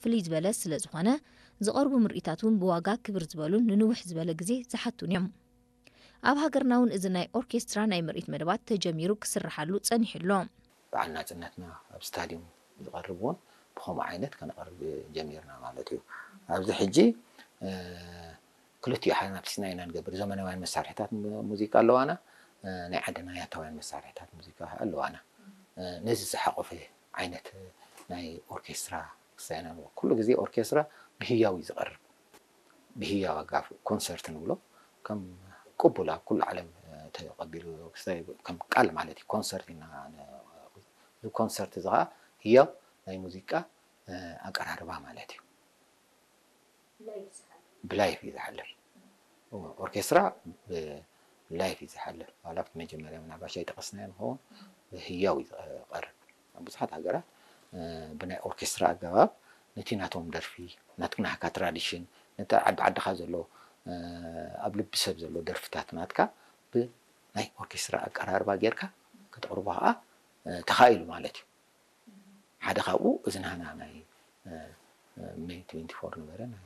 ፍልይ ዝበለ ስለ ዝኾነ፣ ዝቐርቡ ምርኢታት እውን ብዋጋ ክብር ዝበሉን ንንውሕ ዝበለ ግዜ ዝሓቱን እዮም። ኣብ ሃገርና እውን እዚ ናይ ኦርኬስትራ ናይ ምርኢት መደባት ተጀሚሩ ክስርሓሉ ጸኒሑ ኣሎ። በዓል ናጽነትና ኣብ ስታድዩም ዝቐርብ እውን ብኸምኡ ዓይነት ከነቕርብ ጀሚርና ማለት እዩ። ኣብዚ ሕጂ ክልቲኡ ሓናፊስና ኢና ንገብር። ዘመናውያን መሳርሕታት ሙዚቃ ኣለዋና፣ ናይ ዓድና ያታውያን መሳርሕታት ሙዚቃ ኣለዋና። ነዚ ዝሓቆፈ ዓይነት ናይ ኦርኬስትራ ክሳየና ኣለዎ። ኩሉ ግዜ ኦርኬስትራ ብህያው እዩ ዝቐርብ። ብህያው ኣጋፍ ኮንሰርት ንብሎ ከም ቅቡል ኣብ ኩሉ ዓለም ተቐቢሉ ክስታይ ከም ቃል ማለት እዩ። ኮንሰርት ኢና እዚ ኮንሰርት እዚ ከዓ ህያው ናይ ሙዚቃ ኣቀራርባ ማለት እዩ። ብላይፍ እዩ ዝሓልፍ። ኦርኬስትራ ብላይፍ እዩ ዝሓልፍ። ዋላ ኣብቲ መጀመርያ ምናልባሽ ኣይጠቐስናዮ ንኸውን፣ ብህያው እዩ ዝቐርብ። ኣብ ብዙሓት ሃገራት ብናይ ኦርኬስትራ ኣገባብ ነቲ ናቶም ደርፊ፣ ናትካ ትራዲሽን፣ ነቲ ዓዲ ዓድኻ ዘሎ ኣብ ልቢ ሰብ ዘሎ ደርፍታት ናትካ ብናይ ኦርኬስትራ ኣቀራርባ ጌርካ ከተቕርቦ ከዓ ተኻኢሉ ማለት እዩ። ሓደ ካብኡ እዚ ናህና ናይ ሜይ ትዌንቲ ፎር ነበረ ናይ